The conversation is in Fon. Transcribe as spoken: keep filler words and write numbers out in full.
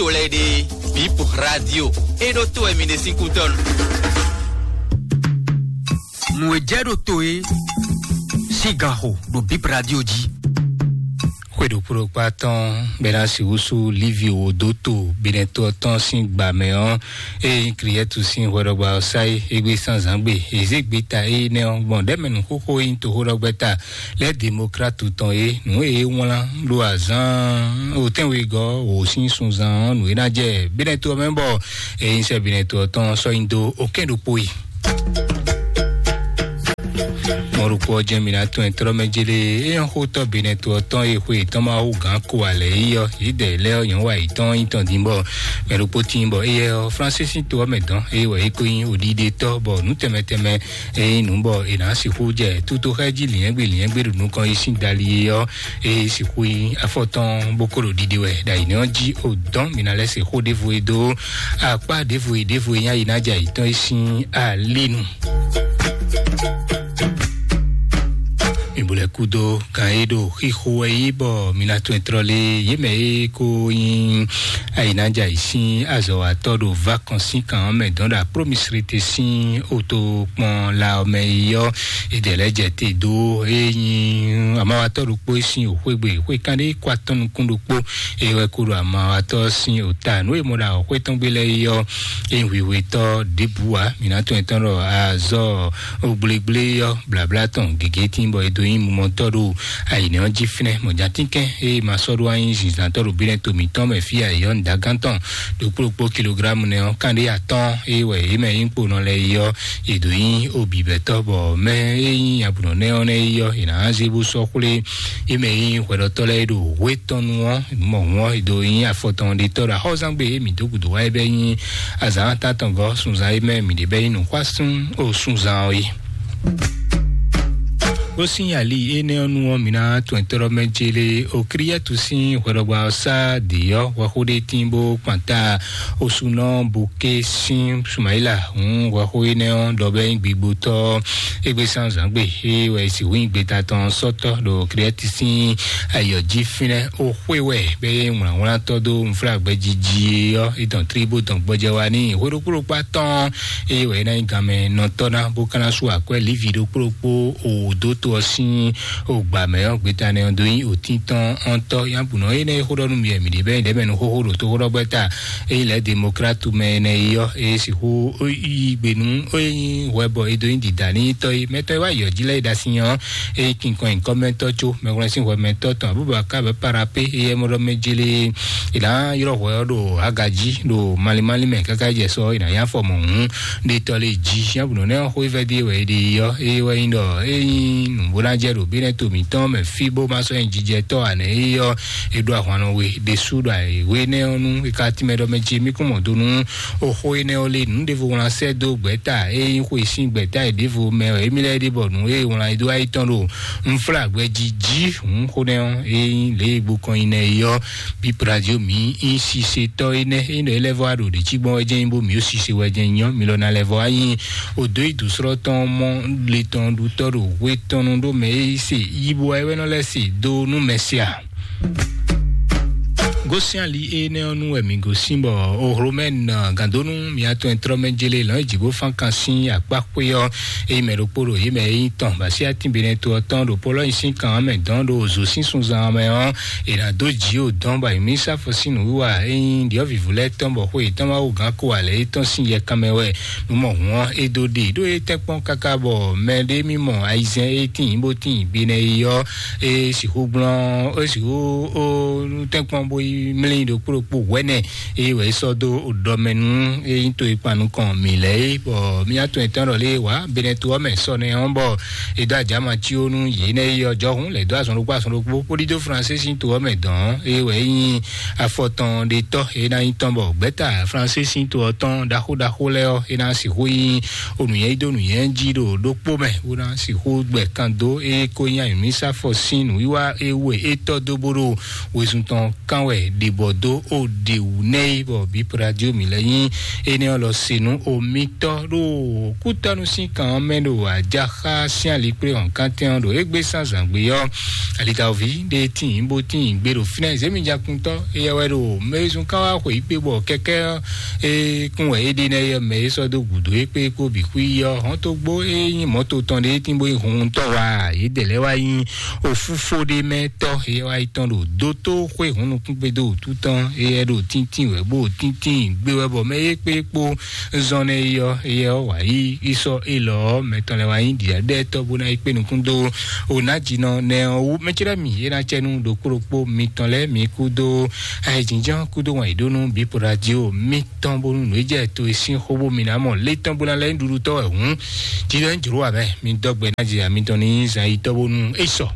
to lɛ́ɛ ɖe, Bip Radio, é ɖó to wɛ mi ɖe sín kútɔ́nu. Nǔ e jɛ ɖo to e sín gan xo ɖo Bip Radio jí. Xwe ɖokpó ɖokpá tɔn bɛ ná si wúsú Livi wò dó to Benɛto ɔ́ tɔn sín gbǎ mɛ ɔ́, eye nyí Kliyɛ́tu sín hwɛɖɔgbá ɔ́ sá é égbé sánzǎngbe. È zě gbeta énɛ́ ɔ́ gbɔn ɖɛ̌mɛnǔxóxó e nyí toxóɖɔgbɛ́ta lɛ́ Demokratu tɔn é, nǔ e é wlán ɖo azǎn otɛ́nwegɔ́ wǒ sín sunzán ɔ́, nǔ e ná jɛ Benɛto ɔ́ mɛ bɔ é nyí sɛ́ Benɛto ɔ́ tɔn sɔ́ nyi dó okɛ́n ɖokpó yi. Mɔ̌ ɖokpó ɔ́ jɛ́n mǐ ná tunwun tlɔ́ mɛ jélé, é nyɔ́ xótɔ́ Benɛto ɔ́ tɔn e xwe yětɔn ma hú gǎn ko alɛ é ɔ́, yědɛɛ lɛ́ɛ ɔ́ nyɔ̌ wa yětɔn nyí tɔn dín bɔ mɛ ɖokpó tíin bɔ éyɛ́ ɔ́ Fransísi to ɔ́ mɛ dɔn, eye wɛ é ko nyí oɖiɖetɔ́ bɔ nǔ tɛnmɛ tɛnmɛ e nyí nǔ bɔ è nǎ sixú jɛ tutoxɛ jí lǐnyɛ́gbe lǐnyɛ́gbe ɖo nukɔn yi sín dali é ɔ́, é sixú nyí afɔtɔn bó ko ɖo ɖiɖe wɛ ɖo ayǐnɛ́ ɔ́ jí. O dɔn mǐ ná lɛ́ se xó ɖěvo e dó akpá ɖěvo e ɖěvo e nyí ayi ná jɛ ayǐtɔn e sín alínu. Mi bo lɛ kú dó kan e ɖo xixo wɛ yí bɔ mi ná tún ɛ tlɔ́ lé yě mɛ e ko nyí ayi ná jɛ ayǐ sín azɔ̌watɔ́ ɖo vakɔ́nsí kan ɔ́ mɛ dɔn ɖo apromisrete sín oto kpɔn la ɔ́ mɛ yi ɔ́, è dɛ lɛ́ jɛ te dó e nyí amawatɔ́ ɖokpó e sín òxwégbè xwé kanɖé kó atɔ́ nukún ɖokpó, e wɛ kó ɖo amawatɔ́ sín ota nǔ e mɔ ɖo awɔxwé tɔn gbé lɛ́ɛ yi ɔ́, e nyí hwihwetɔ́ ɖěbǔ ǎ. Mǐ ná tɔn etɔn ɖɔ azɔ́ gblégblé ɔ́ blǎblá tɔn gěgé tín bɔ è dó nyí mumɔtɔ́ ɖo ayǐnɛ́ ɔ́ jí fínɛ́. Mɔ̌ jántínkɛn e ma sɔ́ ɖó wá nyí zinzǎntɔ́ ɖo bínɛ́ to mǐtɔn mɛ fí ayǐ ɔ́, nǔdágántɔn ɖokpó ɖokpó kilográmu nɛ́ ɔ́, kanɖé atɔ́ɔ́n e wɛ yě mɛ nyí kponɔ lɛ́ɛ yi ɔ́, yě dó nyí obǐbɛ́tɔ́, bɔ mɛ e nyí abǔnɔ nɛ́ ɔ́ nɛ́ yi ɔ́, yě ná zé bó sɔ́ xwlé yě mɛ e nyí hwɛɖɔtɔ́ lɛ́ɛ ɖo hwetɔnu ɔ́, mɔ hǔn ɔ́, è dó nyí afɔtɔn ɖetɔ́ ɖo axɔ́zangbe e mǐ dó gǔdo wá é bɛ́ nyí azǎn tántɔngɔ́ sunzán e mɛ mǐ ɖe bɛ́ nyí nǔxwásún o sunzán ɔ́ é. Bó sín ali énɛ́ ɔ́ nu ɔ́, mǐ ná tɔn tɔ́ɖɔ́ mɛ jélé o Kliyɛ́tu sín hwɛɖɔgbá ɔ́ sá dǐ ɔ́ hwɛxó ɖé tín bó kpanta osunɔ Buké sín Sumayila hǔn hwɛxó énɛ́ ɔ́ ɖɔ bɛ́ nyí gbigbotɔ́ égbé sán zǎngbe é wɛ si hú nyí gbeta tɔn sɔ́tɔ́ ɖo Kliyɛ́tu sín ayǐ ɔ́ jí fínɛ́. Ó xwé wɛ bɛ́ yé wlǎnwlántɔ́ dó nflágbɛ́ jiji ɔ́, é dɔn tlí bó dɔn gbɔjɛ wá n'i. Hwe ɖokpó ɖokpó atɔ́ɔ́n eye wɛ é ná nyí ganmɛ nɔtɔ́ ná bó ka ná sú akwɛ́ Livi ɖokpó ɖokpó o dó to ɔ́ sín o gbǎ mɛ ɔ́, gbeta nɛ ɔ́ dó nyí òtíntɔ́n ɔ́ntɔ́. Yábùnɔ énɛ́ e xó ɖɔ nú mi wɛ mǐ ɖe bɛ́ nyí ɖɛ̌mɛ nú xóxó ɖo tóxóɖɔgbɛ́ta ényí lɛ̌ Demokratu mɛ énɛ́ yi ɔ́, é sixú yí gbe nú é nyí hwɛ bɔ é dó nyí dǐdá n'i tɔ́ é. Mɛtɔ́ e wá yɔ jí lɛ́ɛ é ɖo asi ɔ́, é nyí kinkɔn nyǐkɔ́mɛtɔ́ có mɛhwlɛ́nsínhwɛmɛtɔ́ tɔn Abubakar bɛ Parapé, éyɛ́ mɔ ɖɔ mɛ jélé è nǎ ylɔ́ hwɛ ɔ́ ɖo aga jí ɖo malimali mɛ káká jɛ sɔ è nǎ nyí afɔ mɔ̌hun ɖe tɔ lé jí. Yábùnɔ nɛ́ ɔ́ xó é vɛ́ dó e wɛ é ɖe yi ɔ́, é wɛ nyí ɖɔ é nyí nǔ bó ná jɛ ɖo bínɛ́ to mǐtɔn mɛ fí bó ma sɔ́ nyí jijɛtɔ́ ǎ nɛ́ é ɔ́, é ɖó ahwan nɔ we ɖésú ɖo ayǐhwé énɛ́ ɔ́ nú é ka tínmɛ ɖɔ mɛ ce mí kún mɔ do nú oxó énɛ́ ɔ́ lé nǔ ɖěvo wlán sɛ́ dó gbɛ̌ta e nyí xwe sín gbɛ̌ta e ɖěvo mɛ wɛ émí lɛ́ɛ ɖe bɔ nǔ e wlán e dó ayí tɔn ɖo nflágbɛ́ jí jí hǔn xó nɛ́ ɔ́ é nyí lě e gbokɔn nyi nɛ é ɔ́. Bíp Radio mǐ nyí sisetɔ́ énɛ́ é nɔ é lɛ́ vɔ wá ɖo ɖě cí gbɔn wɛ jɛ́n nyí bó mǐ ó sise wɛ jɛ́n nyí ɔ́, mi lɔ ná lɛ́ vɔ wá nyí odǒ yi dǒsrɔ́ tɔn mɔ le tɔn ɖu tɔ́ ɖo hwe tɔn nu ɖó mɛ e se yí bo wá é wɛ nɔ lɛ́ se dó nú mɛ se a? Gosín ali énɛ́ ɔ́ nu wɛ mǐ gosín bɔ Ohlomɛ́n gǎndónú mǐatɔn e tlɔ́ mɛ jélé lɔ̌n e jǐ bó fán kan sín akpá xwé ɔ́, ényí mɛ ɖokpó ɖo yě mɛ e nyí tɔn bɔ así atínbinɛ to ɔ́ tɔn ɖo Polɔ́nyi sín kan ɔ́ mɛ dɔn ɖo zǒ sín sunzan ɔ́ mɛ ɔ́, è nǎ dó jǐ o dɔn bɔ ayǐmísá fɔsín nǔwiwa e nyí ɖyɔ̌vǐvú lɛ́ɛ tɔn bɔ xwe yětɔn ma wú gǎn ko ǎ lɛ́ɛ é tɔn sín yɛkan mɛ wɛ nǔ mɔ hǔn ɔ́ é dó ɖe ɖó é tɛ́nkpɔ́n káká bɔ mɛ ɖé mì mɔ ayizɛ́n e tíin bó tíin gbe nɛ́ yi ɔ́, é sixú gblɔ́n é sixú ó tɛ́nkpɔ́n bó yi mlí ɖokpó ɖokpó hwɛ́nɛ é wɛ é sɔ́ dó ɖɔ mɛ nú é nyí to e kpan nukɔn mǐ lɛ́ɛ é, bɔ mía tɔn etɔ́n ɖɔ lé wǎ Benɛto ɔ́ mɛ sɔ nɛ ɔ́ bɔ è dó ajǎma cí ó nú yě nɛ́ yi ɔ́ jɔhún lɛ̌ dó azɔn ɖokpó azɔn ɖokpó bó ɖidó Fransísi to ɔ́ mɛ dɔn ɔ́, é wɛ é nyí afɔtɔn ɖe tɔ́ é ná nyí tɔn bɔ gbɛ̌ta Fransísi to ɔ́ tɔn ɖaxó ɖaxó lɛ́ɛ ɔ́, é ná sixú nyí onǔnyɛ yi dó nǔnyɛ jí ɖo ɖokpó mɛ bó ná sixú gbɛ kan dó é ko nyí ayǐmísá fɔsín nǔwiwa é we é tɔ́ dó bó ɖo wezun tɔn kán wɛ ɖe bɔ dó o ɖe wǔ nɛ yi bɔ bípo radio mi lɛ nyi énɛ́ ɔ́ lɔ se nú o mitɔ ɖo kútɔnu sín kan ɔ́ mɛ ɖo ajaxa sín alikplé hɔn kantɛn ɔ́ ɖo égbé sán zǎngbé ɔ́. Alitawovi ɖe tíin bó tíin gbé ɖo fínɛ́ zémijakuntɔ eyɛ wɛ ɖo mɛzun kan wá xweyǐgbe bɔ kɛkɛ ɔ́ e kún wɛ é ɖe nɛ yɛ mɛ é sɔ́ dó gǔdo é kpé kpó bǐ xwí ɔ́ hɔn tó gbó é nyí mɔ̌to tɔn ɖe é tín bó nyí hun tɔ́ wá yě dɛ lɛ́ wá nyí ofúfó ɖé mɛ tɔ́ é wá yi tɔn ɖo dótó xwé hun nukún gbe dó wútu tɔn é yɛ ɖo tíntín wɛ bó tíntín gbé wɛ bɔ mɛ é kpé kpó zɔn nɛ é yɔ é yɛ ɔ́ wǎ yí í sɔ́ é lɔ ɔ́ mɛ tɔn lɛ́ wá nyí ɖiɖaɖɛtɔ́ bó ná yi kpé nukún dó o ná jinɔ nɛ ɔ́ wú mɛ cɛ́ ɖɔ mì é ná cɛ nú ɖokpó ɖokpó mitɔn lɛ́ɛ mi kúdó ayɛjínjɔ́n kúdó wǎn yí ɖó nú bípo radio mitɔn bónú nǔ é jɛ to e sín xó bó mi ná mɔ lé tɔn bó ná lɛ́ nyí ɖuɖutɔ́ wɛ hǔn. Jǐ lɛ́ ń jlǒ wǎ mɛ mi dɔ́ gbɛ ná jɛ mitɔn ní zan yi tɔ́ bónú é sɔ.